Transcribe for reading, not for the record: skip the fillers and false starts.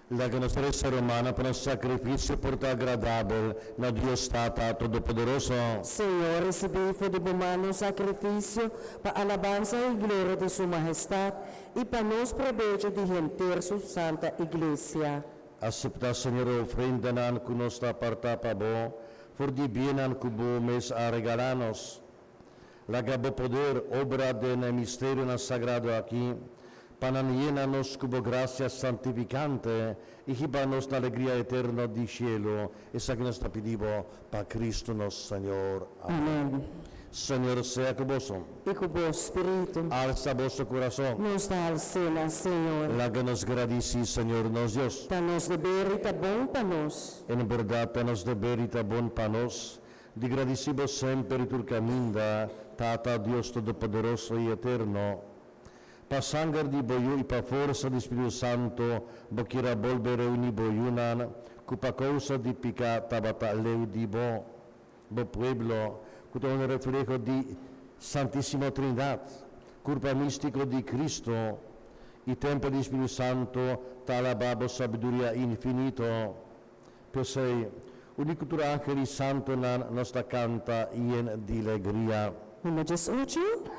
Laga nos resa, rumannan, pa nos sakrifisio por ta agradabel na Dios Tata Todopoderoso. Señor, risibí for di bo man nos sakrifisio pa alabansa i gloria di su mahestat i pa nos probecho di henter su santa Iglesia. Aseptá, Señor, e ofrendanan ku nos ta apartá pa bo, for di biennan ku bo mes a regalá nos. Laga bo poder obra den e misterionan sagrado akí, pa nan yena nos ku bo grasia santifikante i hiba nos na alegria eterno di shelu. Esaki nos ta pidi bo pa Kristu nos Señor. Amèn. Señor sea ku boso. I ku bo spiritu. Alsa boso kurason. Nos ta hals'é na Señor. Laga nos gradisí Señor nos Dios. Ta nos deber i ta bon pa nos. En bèrdat ta nos deber i ta bon pa nos di gradisí bo semper i tur kaminda, Tata Dios Todopoderoso i Eterno. Pa sanger di bo Yu i pa forsa di Spiritu Santu bo kier a bolbe reuní bo yunan ku pa kousa di piká tabata leu di bo, bo pueblo, ku ta un refleho di Santísimo Trinidat, kurpa místiko di Kristu i tèmpel di Spiritu Santu, ta alabá bo sabiduria infinito. P'esei, uni ku tur ángel i santunan nos ta kanta yen di legria. Number 18.